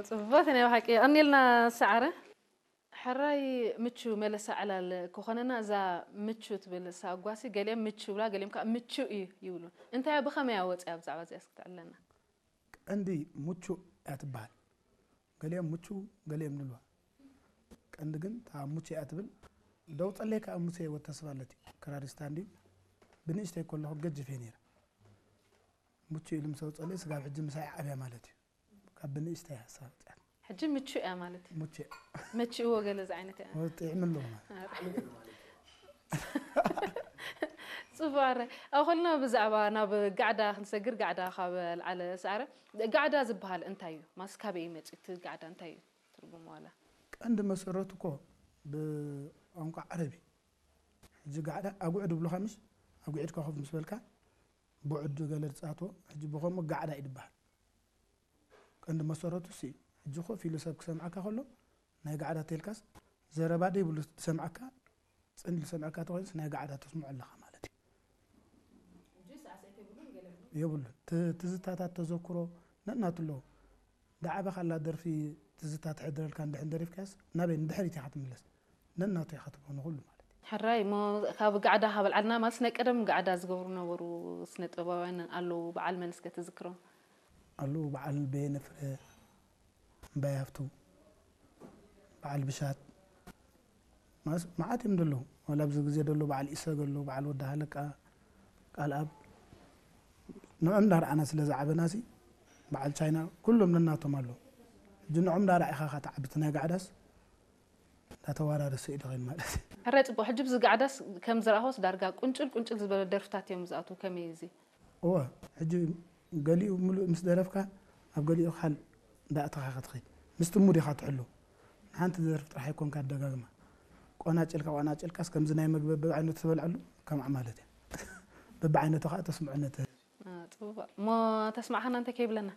ጽቡቓት ናይ ብሓቂ። የቐንየልና ሰዓረ። ሕራይ ምቹ መለሳ ዕላል ክኾነና፣ እዛ ምቹ ትብል ሳጓሲ፣ ገሊኦም ምቹ ይብላ፣ ገሊኦም ከዓ ምቹ እዩ ይብሉ። እንታይ እያ፣ ብኸመይ እያ ወፂኣ? ብዛዕባ እዚኣ እስኪ ተዕልለና። ቀንዲ ምቹ እያ ትበሃል። ገሊኦም ምቹ፣ ገሊኦም ንልዋ። ቀንዲ ግን እታ ምቹ እያ ትብል። ደው ጸለይ ከዓ ምቹ ህይወት ተስፋ ኣለት'ዩ። ክራሪስታ እንድዩ። ብንእሽተይ ከለኹ ገጅፍ እየ ነይረ። ምቹ ኢሉ ምስ ኣውጸለይ ስጋብ ሕጂ ምሳይ ዓብያ ማለት እዩ። ካብ ብንእሽተይ ሓሳብ ኣውጽኣት። ሕጂ ምቹ እያ ማለት እዩ። ምቹ እያ። መቺእዎ ገለ ዝዓይነት እያ። ወ-፣ ጥዕም ኣለዎ ማለት። ኣረ። ጽቡቕ፣ ኣረ። ኣብ ከልና ብዛዕባ ናብ ጋዕዳ ክንሰግር፣ ጋዕዳ ካብ ኣልዓለ ሰዓረ። ጋዕዳ ዝበሃል እንታይ እዩ? ማስ ካበይ እዩ መጺኡ? እቲ ጋዕዳ እንታይ እዩ ትርጉሙ ዋላ? ቀንዲ መሰረቱ እኮ ብቋንቋ ዓረብ እዩ። ሕጂ ጋዕዳ ኣጉዕድ ይብሉኻ ምሽ? ኣጉዒድካ ኮፍ ምስ በልካ፣ ብዕድ ገለ ዝጻትዎ፣ ሕጂ ብኸምኡ ጋዕዳ እዩ ዝበሃል። ቀንዲ መሰረቱ እሱ እዩ። ሕጂ ኮፍ ኢሉ ሰብ ክሰምዓካ ከሎ፣ ናይ ጋዕዳ ተልካስ፣ ዘረባ ደይብሉ ዝሰምዓካ፣ ጽን ኢሉ ዝሰምዓካ ተኾይኑስ ናይ ጋዕዳ ተስምዖ ኣለኻ ማለት እዩ። የብሉን። ት-፣ ትዝታታት ተዘክሮ ነናቱ ኣለዎ። ዳዕባ ካላ ደርፊ ትዝታ ትሕድረልካ እንድሕን ደሪፍካስ፣ ናበይ ንድሕሪት ኢኻ ትምለስ። ነናቱ ኢኻ ትብሎ ንኹሉ ማለት እዩ። ሕራይ እሞ ካብ ጋዕዳ ካብ ኣልዓልና ማለት ናይ ቀደም ጋዕዳ ዝገብሩ ነበሩ ስነ ጥበባውያን ኣለዉ፣ በዓል መን እስከ ትዝክሮም? ኣለዉ፣ በዓል በየነ ፍረ፣ እምባይ ሃፍቱ፣ በዓል ብሻት፣ ማስ-፣ መዓት እዮም ዘለዉ። ዋላ ኣብዚ ግዜ ዘለዉ በዓል ኢሰግ ኣለዉ፣ በዓል ወዲ ሃለቃ፣ ቃልኣብ፣ ንዕም እንዳርኣና ስለ ዝዓበናሲ፣ በዓል ቻይና፣ ኩሎም ነናቶም ኣለዉ። ሕጂ ንዕም እንዳርኣኻ ኢኻ ትዓቢ፣ እቲ ናይ ጋዕዳስ እንዳተዋራረሰ እዩ ዝኸይድ ማለት እዩ። ሕራይ ጽቡቕ። ሕጂ ብዚ ጋዕዳስ ከም ዝረኣኹስ ዳርጋ ቁንጭል ቁንጭል ዝበለ ደርፍታት እዮም ዝኣትዉ። ከመይ እዩ እዚ? እወ፣ ሕጂ ገሊኡ ምሉእ ምስ ደረፍካ፣ ኣብ ገሊኡ ካል እንዳእተኻ ኢኻ ትኸይድ። ምስቲ ሙድ ኢኻ ትሕሉ። ንሓንቲ ደርፊ ጥራሕ ኣይኮንካ ኣደጋግማ። ቆናጭልካ፣ ቆናጭልካስ ከምዚ ናይ መግቢ በብዓይነቱ ትበልዐሉ፣ ከምኣ ማለት እዩ። በብዓይነቱ ኸኣ ተስምዖ ነቲ። አ፣ ጽቡቕ። እሞ ተስማዕኻና እንታይ ከይብለና?